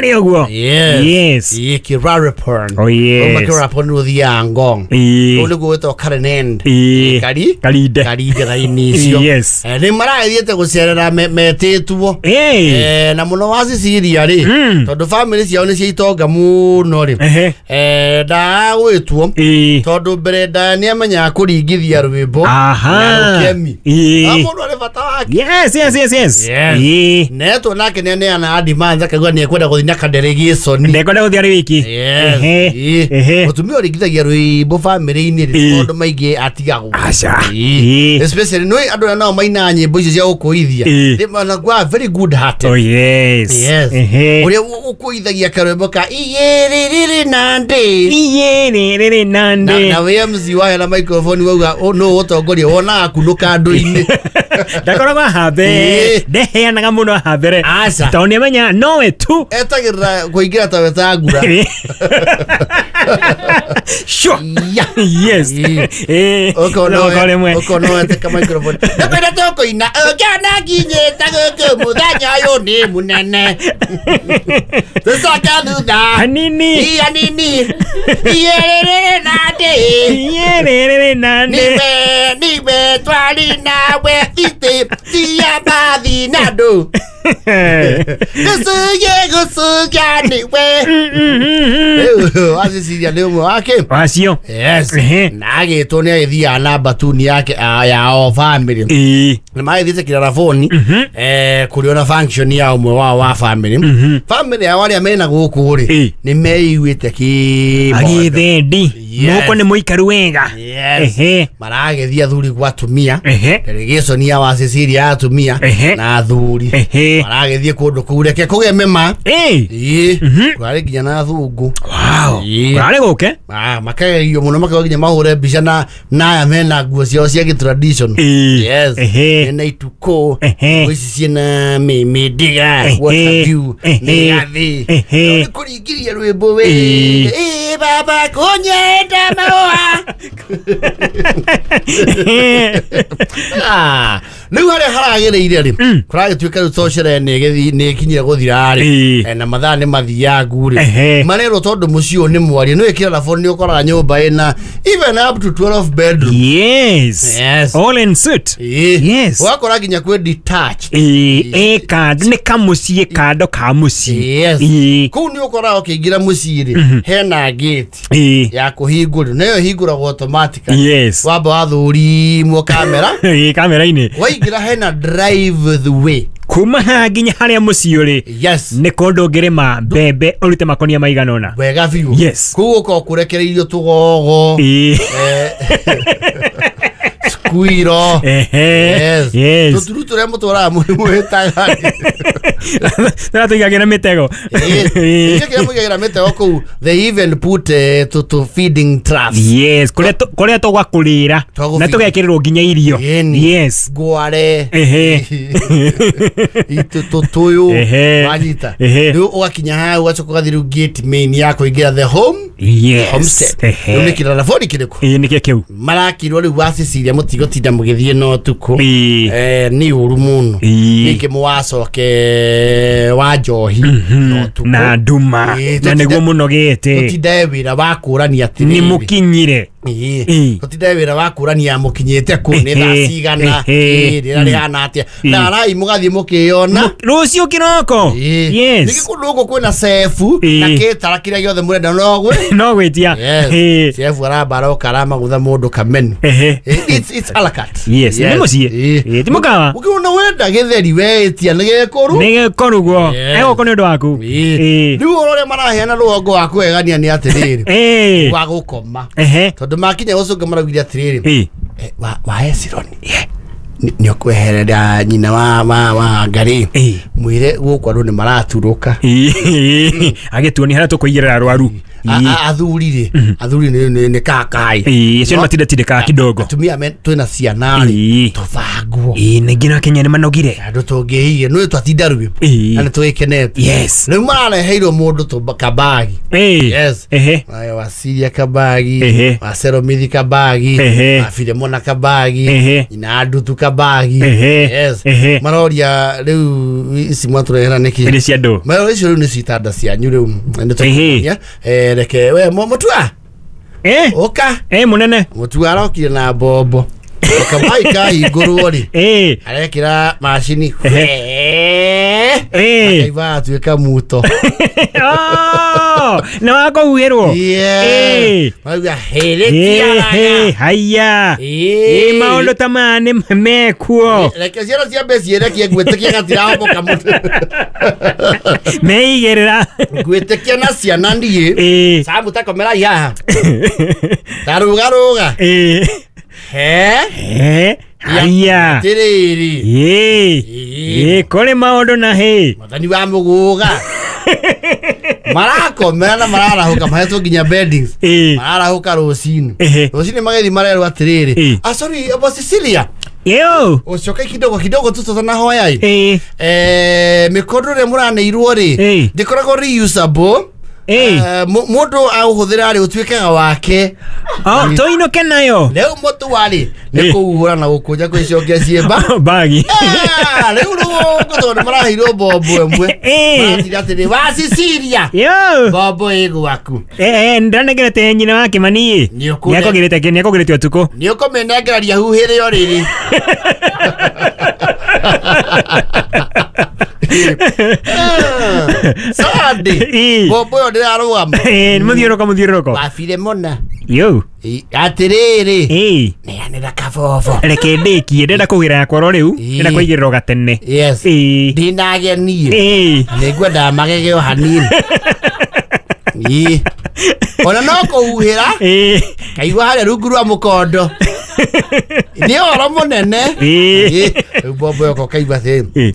Harĩa ũguo. Yes. Yes. Ĩĩ, Kirarapon. Oh, yes. Uma Kirarapon nĩ ũthiaga Ngong. Ĩĩ. Kũu nĩkuo gwĩtagwo Karen End. Ĩĩ. Kari? Karinde. Karinde raini icio. Yes. Nĩ maragĩthiĩte gũcerera metĩtwo. Ĩĩ. Na mũno wa Cecilia rĩ, tondũ family ciao nĩ cia itonga mũno rĩ. Ehe. Ndagwĩtwo Ĩĩ. tondũ mbere ndaya nĩ amenyaga kũringithia rwĩmbo Aha. na rũkemi. Ĩĩ. Na mũndũ arĩ bata wake. Yes, yes, yes, yes. Yes. Ĩĩ. Netwo nake nĩ aneana adimans akauga nĩ ekwenda gũthiĩ na kadelegation. Ndekwenda gũthiĩ arĩ wiki. Yes. Ehe. Ĩĩ. Ehe. Mũtumia ũringithagia rwĩmbo bamĩrĩ-inĩ rĩ, Ĩĩ. maũndũ maingĩ atigagwo. Aca. Ĩĩ. Ĩĩ. Especially nĩ andũ arĩa nao mainaga nyĩmbo icio cia gũkũithia. Ĩĩ. They manakuwa very good hearted. Oh yes. Yes. Ehe. Ũrĩa ũkũithagia karwĩmbo ka iyĩrĩrĩrĩ na ndĩ. Iyĩrĩrĩrĩ na Na ndĩ. na wĩ MC waya na microphone wauga nũ ũtongoria wonaga kunũka andũ-inĩ. Ndakoragwo haha mbere. Ĩĩ. Ndeheanaga mũno haha mbere. Aca. Tondũ nĩamenya nowe tu. Etagĩrĩra kũingĩra ta wetangura. Sure. Ya. Yes. Ĩĩ. Ĩĩ. Okorwo rĩmwe. Ũkona weteka microphone. Ndakwenda tũkũina ũngĩona nginyĩte gũkũ mũthenya ũyũ nĩ mũnene. Tũcoke thutha. Hanini. Iya nini. Iyĩrĩrĩrĩ na ndĩ. Iyĩrĩrĩrĩ na ndĩ. Niwe niwe twari nawe thitĩ tia bathi na ndũ. Gũcugie gũcugia niwe. Rĩu waciciria nĩ ũmwe wake. Wacio. Yes. Ehe. Na agĩtwo nĩ agĩthiaga na mbatuni yake ya o family. Ĩĩ. Nĩ magĩthiĩte Kiraraboni kũrĩ ona function ya ũmwe wao wa family. Family yao arĩa mena gũkũ rĩ Ĩĩ. nĩ meiguĩte kĩmondo. Agĩthendi. Yes. Mũhuko nĩ mũikaru wega. Yes. Ehe. Maragĩthiĩ athuri gwa atumia. Ehe. Delegation ya wa Cecilia ya atumia Ehe. na athuri. Ehe. Maragĩthiĩ kũndũ kũu reke kũgĩe mĩma. Ĩĩ. Ĩĩ. Kũrarĩ nginya na athũngũ. Wow. Ĩĩ. Kũrarĩ gũke. Makegerio mũno makauga nginya mahũre mbica na aya mena nguo ciao cia gĩ-tradition. Ĩĩ. Yes. Ehe. Mena itukũ. Ehe. Nguo ici ciĩna mĩndĩga. Ehe. What have you. Ehe. Mĩgathĩ. Ehe. Nĩ kũringithia rwĩmbo we. Ĩĩ. Ĩĩ baba kũnyenda mahũa. Rĩu harĩa haragĩrĩire rĩ kũragĩtuĩka rĩu to sherehe nĩ ĩkinyire gũthira rĩ. Ĩĩ. Na mathaa nĩ mathiangu rĩ Ehe. marerwo tondũ mũciĩ ũyũ nĩ mwarie nĩ wĩkĩra nĩ ũkoraga nyũmba ĩna even up to 12 bedroom. Yes. Yes. All in suit. Ĩĩ. Yes. Ũgakora nginya kwĩ detached. Ĩĩ. Ĩ kando nĩ kamũciĩ kando ka mũciĩ. Yes. Ĩĩ. Kũu nĩ ũkoraga ũkĩingĩra mũciĩ rĩ hena gate Ĩĩ. ya kũhingũrwo nayo ĩhingũragwo automatically. Yes. Wamba wathũrimwo kamera Ĩĩ kamera-inĩ. waingĩra hena drive the way. Kuma haha nginya harĩa mũciĩ ũrĩ. Yes. Nĩ kũndũ ũngĩrĩma mbembe ũrute makonia maigana ũna. Wega biũ. Yes. Kũu ũkoragwo kũrekereirio tũgogo. Ĩĩ. Squirrel. Ehe. Yes. Yes. Tũturu tũrĩa mũtwaraga mwĩtaga. Tũrĩa tũigagĩra mĩtego. Ĩĩ. Kĩrĩa mũigagĩra mĩtego kũu they even put to feeding troughs. Yes, kũrĩa kũrĩa tũgakũrĩra Twagũ na feed. tũgekĩrĩrwo nginya irio. Ĩni. Yes. Ngware. Ehe. Tũtũyũ. Ehe. Wanyita. Ehe. Rĩu ũgakinya hau ũgacoka ũgathiĩ rĩu gate main ya kũingĩra the home Yes. homestead. Ehe. Rĩu nĩ Kiraraboni kĩrĩkũ? Ĩĩ nĩkĩo kĩu. Marakirwo rĩu wa Cecilia mũtigũtinda mũgĩthiĩ na ũtukũ. Ĩĩ. Nĩ ũru mũno. Ĩĩ. Ningĩ mũwacoke wa njohi na ũtukũ. Na nduma. Ĩĩ, Na nĩguo mũnogete. tũtindae wĩra wa kũrania Nĩ atĩrĩrĩ. mũkinyire. Ĩĩ. Ĩĩ. Tũtindae wĩra wa kũrania mũkinyĩte kũ nĩ thaa Ehe. cigana. Ehe. Ĩĩ, rĩera rĩhana atĩa. Ĩĩ. Tharai mũgathiĩ mũkĩyona. Rũciũ kĩroko. Ĩĩ. Yes. Ningĩ kũndũ gũkũ kwĩna cebu Ĩĩ. na kĩtara kĩrĩa gĩothe mũrenda no gwĩ. No gwĩtia. Yes. Ĩĩ. Cebu aramba aroka aramagutha mũndũ kamenu. Ehe. It's a la carte. Yes, nĩ mũciĩ. Ĩĩ. Ĩĩ, ti mũkawa. Ũkĩona wenda gĩtheri weĩtia nĩ gĩkũru. Nĩ gĩkũrugwo. Yes. Egũkũ nĩ ũndũ waku. Ĩĩ. Ĩĩ. Rĩu ũhoro ũrĩa maraheana rũgongo wa kũegania nĩ atĩrĩrĩ. Ĩĩ. Wa gũkoma. Ehe. Tondũ makinya gũcũnga maraugire atĩrĩrĩ. Ĩĩ. Wa Esironi. Nĩ ũkweherera nyina wa Ngarĩ. Ĩĩ. Mwĩre gũkũ andũ nĩ maraturũka. Ĩĩ. Agĩtuonia harĩa tũkũigĩrĩra arwaru. Athuri rĩ, athuri nĩ kakai. Ĩĩ, acio nĩ matindatindĩkaga kidogo. Atumia twĩna ciana rĩ, Ĩĩ. tũbangwo. Ĩĩ, na nginya Kenya nĩ manogire. Andũ tũngĩiye nĩ twatinda rwĩmbo Ĩĩ. na nĩ twĩkenete. Yes. Rĩu marareheirwo mũndũ kabagi. Ĩĩ. Yes. Ehe. Aya, Wasiria kabagi, Ehe. Waseromithi kabagi, Ehe. Wafilemona kabagi, Ehe. Nyina Ndutu kabagi. Ehe. Yes. Ehe. Maroria rĩu ici mwatũrehera nĩkĩ? Nĩ cia andũ. Maroria icio rĩu nĩ citanda cianyu rĩu. Nĩ Ehe. tũkũmonia. Reke we Mutua Eh. ũka. Eh, mũnene. Mutua arokire na mbombo. Kamai kahingũrwo rĩ, Eh. arekĩra macini. Eh. Akaiva atuĩka muto. Oh, nĩ wakũhuhĩrwo. Yeah. Marauga hĩrĩ Eh, haya. Ĩ, maũndũ ta maya nĩ mekuo. Reke ciana ciambe ciĩrekie ngwĩtĩkia gatirahomoka mũno. Meigĩrĩra. Ngwĩtĩkia na ciana niĩ. Ĩ. Samu takomerai haha. Tarũgarũga. Ĩ. He? Eh, haya. Atĩrĩrĩ. Ĩ. Ĩ. Ĩ, kũrĩ maũndũ na hĩ. Mwathani wa mũgũga. Marakomera na mararahũka mahetwo nginya beddings. Ĩ. Mararahũka rũcinĩ. Ehe. Rũcinĩ magĩthiĩ marerwo atĩrĩrĩ. Ĩ. Ah, sorry, bo Cecilia. Yo. Ũcoke kidogo kidogo tu tũtanahoya ĩ. Ĩ. Mĩkondo ĩrĩa mũraneirwo rĩ, Ĩ. ndĩkoragwo reusable. Ĩ. Mũndũ aũhũthĩra rĩ ũtuĩkaga wake. Oh, tũinũke nayo. Rĩu mũtua rĩ nĩ Ĩ. kũhuhũra na gũkũnja kwĩcokia ciĩmba. Bagi. Ah, rĩu rũgongo tondũ nĩ maraheirwo mbombo ĩmwe. Ĩ. Maratinda atĩrĩ wa Cecilia, Yo. mbombo ĩ gwaku. Eh, ndanegerete nyina wa Kimani. Nĩ ũkũne- Nĩakũgĩrĩte nĩakũgĩrĩte ũtukũ. Nĩ ũkũmĩnengereria huhĩre o rĩrĩ. Sunday. Ĩ. Mbombo ĩyo ndĩrarũgama. Eh, nĩ mũthiũrũrũko mũthiũrũrũko. Wabire mũna. Yo. Atĩrĩrĩ. Ĩ. Neanĩra kabobo. Reke ndĩkie ndĩrenda kũgĩra yakwa oro rĩu. Ĩ. Ndĩrenda kũigĩrĩra o gatene. Yes. Ĩ. Ndinagenie. Ĩ. Nĩ ngwendaga magege o hanini. Ĩ. Ona no kũhuhĩra Ĩ. kaigua harĩa rungu rwa mũkondo. Nĩ ũhoro mũnene. Ĩ. Ĩ. Rĩu mbombo ĩyo kaigua atĩrĩ. Ĩ.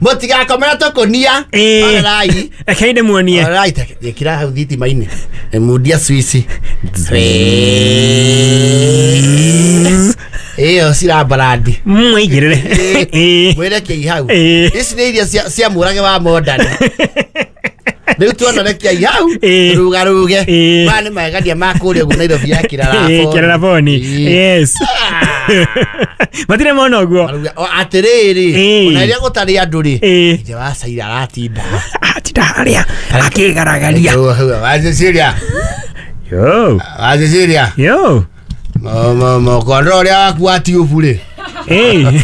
Mũtigakomera tũkũnia. Ĩ. Orerai. Reke ndĩmuonie. Orerai ĩkĩra hau thitima-inĩ. Mundia swici. Ĩyo cirambarandi. Mwaigĩrĩre. Ĩ. Mwĩrekiei hau. Ĩ. Ici nĩ iria cia mũrage wa modern. Rĩu tuona rekiai hau Ĩ. rugaruge. Ĩ. Maya nĩ magegania ma kũrĩa ũguo Nairobi ya Ĩ, Kĩraraboni. Kĩraraboni. Ĩ. Yes. Matirĩ mona ũguo. Marauga, o, atĩrĩrĩ Ĩ. ona rĩrĩa gũtarĩ andũ rĩ, Ĩ. ithe wa Caira aratinda. Atinda harĩa akĩgaragaria. Wa Cecilia, Yo. wa Cecilia. Yo. Mũkondo ũrĩa waku wa tiũbu rĩ, Ĩ.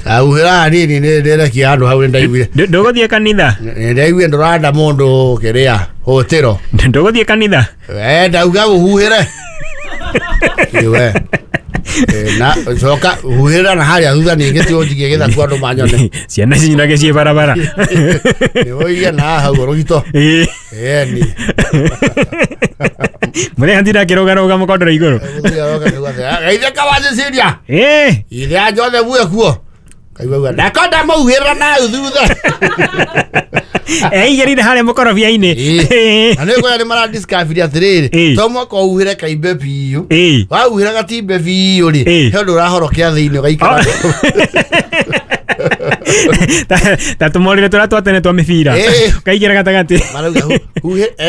ahuhĩra hanini nĩ ndĩrekia handũ hau nĩ ndaiguire. Ndũgũthiĩ kanitha. Nĩ ndaiguire ndũranda mũndũ kĩrĩa hũtĩro. Ndũgũthiĩ kanitha. We ndauga ũhuhĩre. We. Na coka huhĩrĩra na harĩa thutha ningĩ ti ũnjigie gĩthaku andũ manyone. Ciana cinyinage ciĩ barabara. Nĩ ũigie na haha hau rũgito. Ĩ. Ĩni. Mũrĩa atinda akĩrũgarũga mũkondoro igũrũ. Geithia ka wa Cecilia. Ĩ. Ithe a Joseph we kuo. Kaigua uga ndakonda mauhĩrĩra na hau thutha. Eigĩrĩire harĩa mũkorobia-inĩ. Ĩ. Na nĩ kwĩra nĩ maradiscovery atĩrĩrĩ, Ĩ. to mwaka ũhuhĩre kaimbe biũ. Ĩ. Wahuhĩra gatimbe biũ rĩ, Ĩ. he ũndũ ũrahorokea thĩinĩ ũgaikara. Ta tũmorire tũrĩa twa tene twa mĩbira. Ĩ. Ũkaigĩra gatagatĩ. Marauga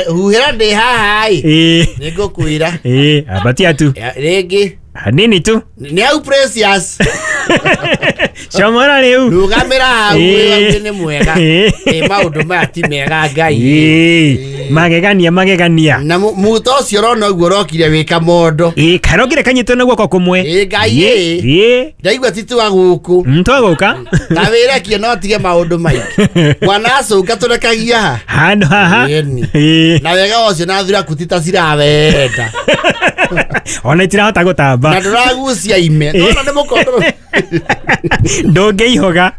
huhĩra ndĩ haha ĩ. Ĩ. Nĩ ngũkwĩra. Ĩ, ambatia tu. Rĩngĩ Hanini tu. nĩ hau Precious. Comora rĩu. Rũgamĩra hau Ĩ. wĩ nĩ mwega. Ĩ. Ĩ maũndũ maya ti mega Ngai. Ĩ. Magegania magegania. Na muto ũcio ũrona ũguo ũrokire wĩ kamondo. Ĩ, karokire kanyitwo na guoko kũmwe. Ĩ Ngai ĩ. Ĩ. Ndaigua ti twa gũkũ. Twagũka. Ta wĩrekie no tige maũndũ maingĩ. Mwana acũnga tũrekagia ha. Handũ haha. Ĩni. Ĩ. Na wega ũcio na thuraku ti ta cirawenda. Ona itirahota gũtamba. Gĩcamba. Na ndũragucia ime. Nona nĩ mũkondoro. Ndũngĩihoga.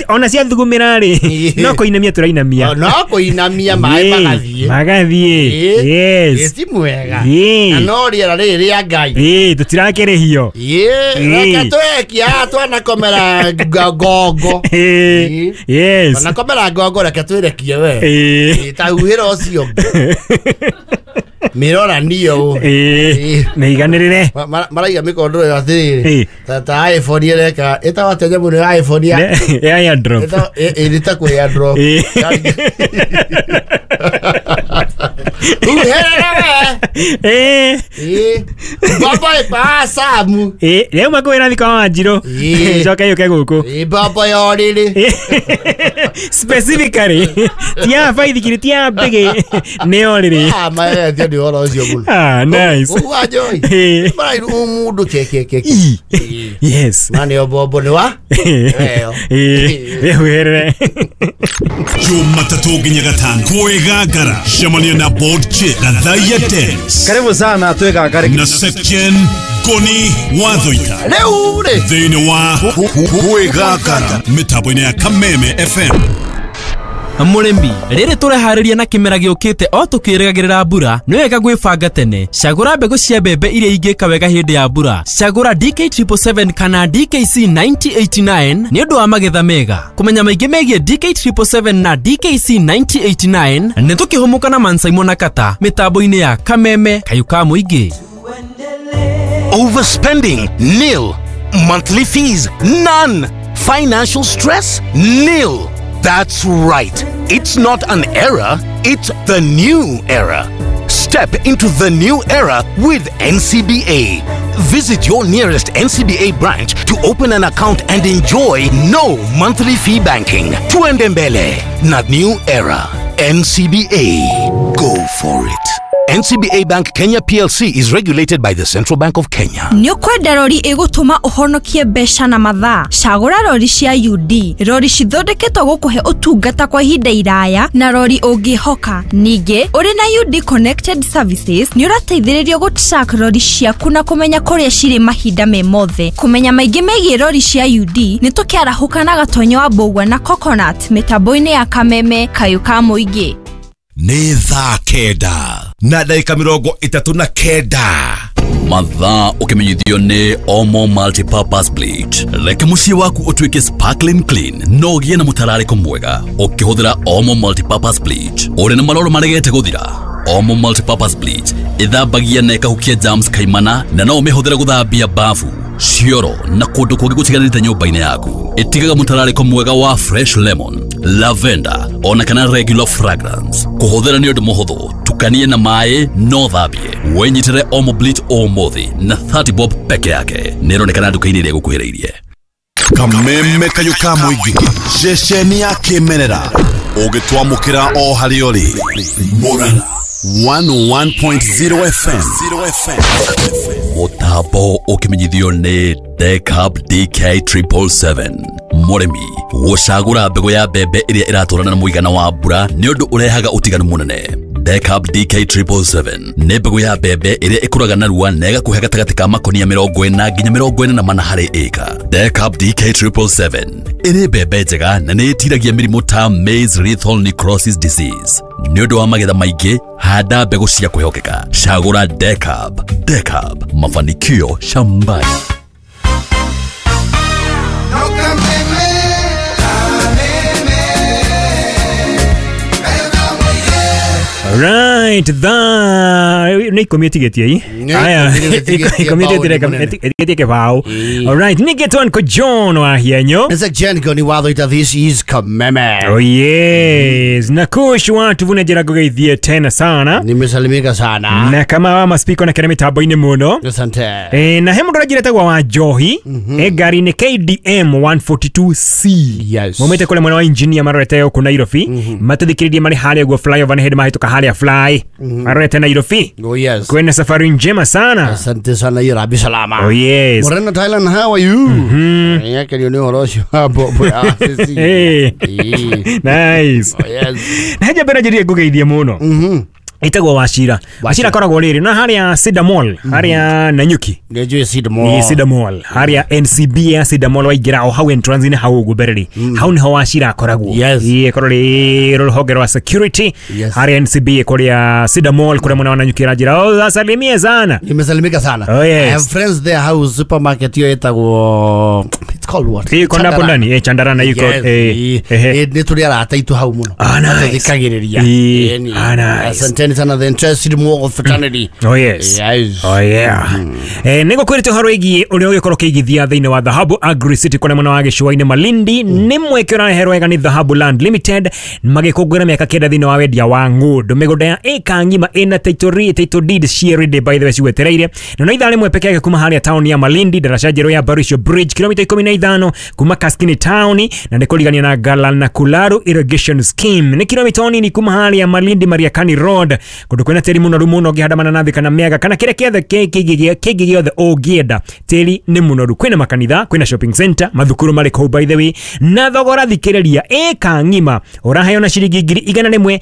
Ona ciathugumĩra rĩ, no kũinamia tũrainamia. No kũinamia maĩ magathiĩ. Magathiĩ. Yes. Ti mwega. Na no rĩera rĩrĩ rĩa Ngai. Tũtirakĩrĩhio. Reke twekia twanakomera ngongo. Yes. Twanakomera ngongo reke twĩrekie we. Ta huhĩra ũcio. Mirora niyo. Meiganĩrĩre. Maraiga mĩkondoro atĩrĩrĩ. Ta iPhone ĩreka ĩtagwo atĩa nyamũ ĩno ya iPhone ya airdrop. Ĩrĩ kwĩ airdrop. Huhĩra we. Baba ĩpasamu. Rĩu makwĩra thika wa Wanjirũ. Coke yũke gũkũ. Baba ya ũrĩrĩ. Specifically. Ti ya baithikiri, ti ya mbĩgĩ. Nĩ ũrĩrĩ. Maethio nĩ ũhoro ũcio mũno. Nice. Ũguo Wanjoi. Marairu mũndũ ke. Yes. Ma nĩyo mbombo nĩ wa? Ĩyo. Wĩhuhĩrĩre. Jumatatũ nginya gatano kwĩgangara cemania na Board Chick na Thaiya Dance. Karibu sana twĩgangare na Section Goni Wathoita. Rĩu rĩ. Thĩinĩ wa kwĩgangara mĩtambo-inĩ ya Kameme FM. Mũrĩmi, rĩrĩ tũreharĩria na kĩmera gĩũkĩte o tũkĩrĩgagĩrĩra mbura, nĩ wega gwĩbanga tene. Cagũra mbegũ cia mbembe iria ingĩka wega hĩndĩ ya mbura. Cagũra DK777 kana DKC 9089 nĩ ũndũ wa magetha mega. Kũmenya maingĩ megiĩ DK777 na DKC 9089 nĩ tũkĩhũmũka na Mansaimo na Kata mĩtambo-inĩ ya Kameme Kayũ ka Mũingĩ. Overspending, nil. Monthly fees, none. Financial stress, nil. That's right. It's not an era, it's the new era. Step into the new era with NCBA. Visit your nearest NCBA branch to open an account and enjoy no monthly fee banking. Tuende mbele na new era. NCBA. Go for it. NCBA Bank Kenya PLC is regulated by the Central Bank of Kenya. Nĩ ũkwenda rori ĩgũtũma ũhonokie mbeca na mathaa? Cagũra rori cia UD. Rori cithondeketwo gũkũhe ũtungata kwa ihinda iraya na rori ũngĩhoka. Ningĩ, ũrĩ na UD Connected Services nĩ ũrateithĩrĩrio gũ-track rori ciaku na kũmenya kũrĩa cirĩ mahinda me mothe. Kũmenya maingĩ megiĩ rori cia UD nĩ tũkĩarahũka na Gatonyo wa Mbũgua na Coconut mĩtambo-inĩ ya Kameme Kayũ ka Mũingĩ. Nĩ thaa 9 na ndagĩka 39. Mathaa ũkĩmenyithio nĩ Omo Multipurpose Bleach. Reke mũciĩ waku ũtuĩke sparkling clean no ũgĩe na mũtararĩko mwega ũkĩhũthĩra Omo Multipurpose Bleach. Ũrĩ na maroro maregete gũthira? Omo Multipurpose Bleach ĩthambagia na ĩkahukia germs kaimana na no ũmĩhũthĩre gũthambia bafu, cioro na kũndũ kũngĩ gũtiganĩte nyũmba-inĩ yaku. Ĩtigaga mũtararĩko mwega wa fresh lemon, lavender ona kana regular fragrance. Kũhũthĩra nĩ ũndũ mũhũthũ, tukanie na maĩ no thambie. Wĩnyitĩre Omo Bleach ũmũthĩ na 30 bob peke yake. Nĩ ĩronekana nduka-inĩ ĩrĩa ĩgũkuhĩrĩirie. Kameme Kayũ ka Mũingĩ, ceceni ya kĩmerera ũgĩtwamũkĩra o harĩa ũrĩ. Murang'a 101.0 FM. Mũtambo ũkĩmenyithio nĩ Decab DK777. Mũrĩmi gũcagũra mbegũ ya mbembe ĩrĩa ĩratwarana na mũigana wa mbura nĩ ũndũ ũrehaga ũtiganu mũnene. Decab DK777 nĩ mbegũ ya mbembe ĩrĩa ĩkũraga narua na ĩgakũhe gatagatĩ ka makonia 40 nginya 44 harĩ ĩka. Decab DK777 ĩrĩ mbembe njega na nĩ ĩtiragia mĩrimũ ta maize lethal necrosis disease. Nĩ ũndũ wa magetha maingĩ, handa mbegũ cia kwĩhokeka. Cagũra Decab. Decab, mafanikio shambani. Right, nĩ ikũmi ĩtigĩtie i. Aya, ikũmi ĩtigĩtie kĩbaũ. All right, nĩgetwo nko John wa Hienyo. It's a Jen Goni Wathoita, this is Kameme. Oh yes, na kush watu vuna jera ngũgeithie tena sana. Nimesalimika sana. Na kama wa maspiko na kena mĩtambo-inĩ mũno. Asante. Na he mũndũ ũrĩa njĩretagwo wa Njohi, ngari-inĩ KDM 142C. Yes. Maumĩte kũrĩa mwena wa engineer marorete gũkũ Nairobi. Matũthikĩrĩrie marĩ harĩa ũguo flyover nĩ hĩndĩ mahĩtũka harĩa fly. Marorete Nairobi. Oh yes. Kwena safari njema sana. Asante sana Irabi salama. Oh yes. Morena Thailand, how are you? Yake ni ũhoro ũcio wa mbombo ya Hey. Nice. Oh yes. Na haja mbere njĩrire ngũgeithie mũno. Ĩtagwo Wachira. Wachira akoragwo rĩrĩ na harĩa Cedar Mall, harĩa Nanyuki. Nĩnjũĩ Cedar Mall. Ni Cedar Mall. Harĩa NCB ya Cedar Mall waingĩra o hau entrance-inĩ hau ũguo mbere rĩ. Hau nĩho Wachira akoragwo. Yes. Ĩĩ ĩkorwo rĩ rũhonge rwa security. Yes. Harĩa NCB kũrĩa Cedar Mall kũrĩa mwena wa Nanyuki ĩranjĩra, "Oh, asalimie sana." Nimesalimika sana. Oh, yes. I have friends there hau supermarket hiyo ĩtagwo, it's called what? Ĩko ndapo ndani, Chandarana iko. Yes. Nĩ tũrĩ arata aitũ hau mũno. Ah, nice. Tũthikagĩrĩria. Ah, nice. Asanteni sana the interested Mwogo fraternity. Oh yes. Yes. Oh yeah. Nĩ ngũkwĩrĩte ũhoro wĩgiĩ ũrĩa ũgĩkorwo ũkĩigithia thĩinĩ wa Dhahabu Agri City kũrĩa mwena wa gĩcũa-inĩ Malindi. Nĩ mweke ũrareherwo wega nĩ Dhahabu Land Limited magĩkũngũĩra mĩaka 9 thĩinĩ wa wendia wa ng'ũndũ. Mĩgũnda ya ĩka ng'ima ĩna title deed ciĩ ready by the way cigwetereire. Na no ithaa rĩmwe peke yake kuma harĩa taũni ya Malindi, daraca njerũ ya Barisho Bridge kilomita 15 kuma Kaskini town, na nĩ kũrigania na Galana Kularu Irrigation Scheme. Nĩ kilomita nini kuma harĩa Malindi Mariakani Road, kũndũ kwĩna tĩri mũnoru mũno ũngĩhanda mananathi kana mĩanga kana kĩrĩa kĩothe kĩngĩ gĩothe ũngĩenda. Tĩri nĩ mũnoru, kwĩna makanitha, kwĩna shopping center, mathukuru marĩ kũu by the way, na thogora thikĩrĩria ĩka ng'ima ũraheo na ciringi 150.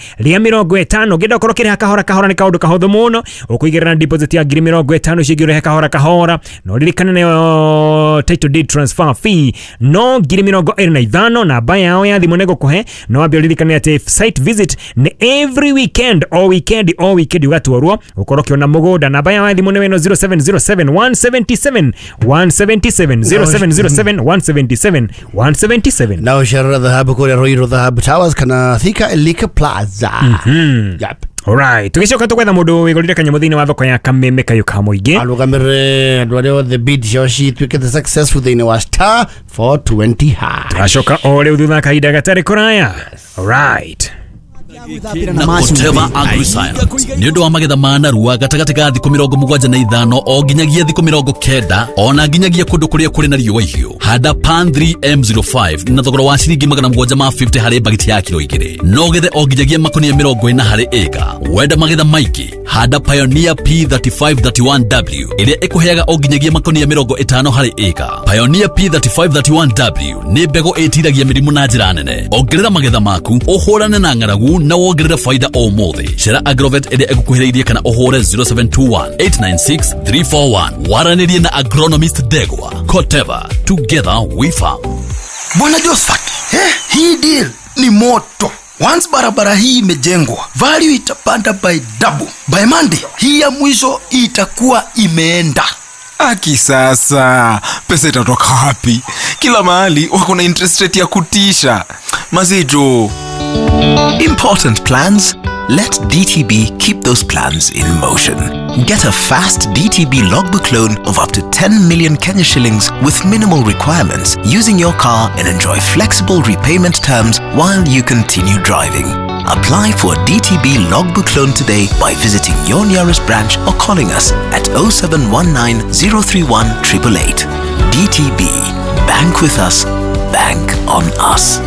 Ũngĩenda ũkorwo ũkĩrĩha kahora kahora nĩ kaũndũ kahũthũ mũno, ũkũigĩrĩra na deposit ya 50,000 icio ingĩ ũrĩhe kahora kahora, na ũririkane nayo title deed transfer fee no 25,000. Namba yao ya thimũ nĩ ngũkũhe, no wambe ũririkane atĩ site visit nĩ every weekend, o weekend o weekend ũgatwarwo ũkorwo ũkĩona mũgũnda. Namba yao ya thimũ nĩ ĩno 0707 177 177 0707 177 177. Na ũcerera Dhahabu kũrĩa Ruiru Dhahabu Towers kana Thika Elika Plaza. Yep. Alright, tũgĩcoka tũgwetha mũndũ wĩgũrire kanyamũ thĩinĩ wa thoko ya Kameme Kayũ ka mũingĩ. Arũgamĩrĩre andũ arĩa othe bid ciao cituĩkĩte successful thĩinĩ wa star 420 hash. Tũgacoka o rĩu thutha kahinda gatarĩ kũraya. Alright. Na Koteva AgriScience nĩ ũndũ wa magetha ma narua gatagatĩ ga thikũ 75 o nginyagia thikũ 90 ona nginyagia kũndũ kũrĩa kũrĩ na riũa ihiũ. Handa Pan 3M05 na thogora wa ciringi 750 harĩ bagiti ya kilo 2, no gethe o nginyagia makonia 40 harĩ ĩka. Wenda magetha maingĩ, handa Pioneer P3531W ĩrĩa ĩkũheaga o nginyagia makonia 50 harĩ ĩka. Pioneer P3531W nĩ mbegũ ĩtiragia mĩrimũ na njĩra nene. Ongerera magetha maku, ũhũrane na ng'aragu na wongerere faida o mũthĩ. Cera Agrovet ĩrĩa ĩgũkuhĩrĩirie kana ũhũre 0721 896 341. Waranĩrie na agronomist Ndegwa. Koteva, together we farm. Bwana Josephat, hii deal ni moto. Once barabara hii imejengwa, value itapanda by double. By Monday, hii ya mwisho itakuwa imeenda. Aki sasa, pesa itatoka wapi? Kila mahali wako na interest rate ya kutisha. Mazijo. Important plans? Let DTB keep those plans in motion. Get a fast DTB logbook loan of up to 10 million Kenya shillings with minimal requirements using your car and enjoy flexible repayment terms while you continue driving. Apply for a DTB logbook loan today by visiting your nearest branch or calling us at 0719 031 888. DTB. Bank with us. Bank on us.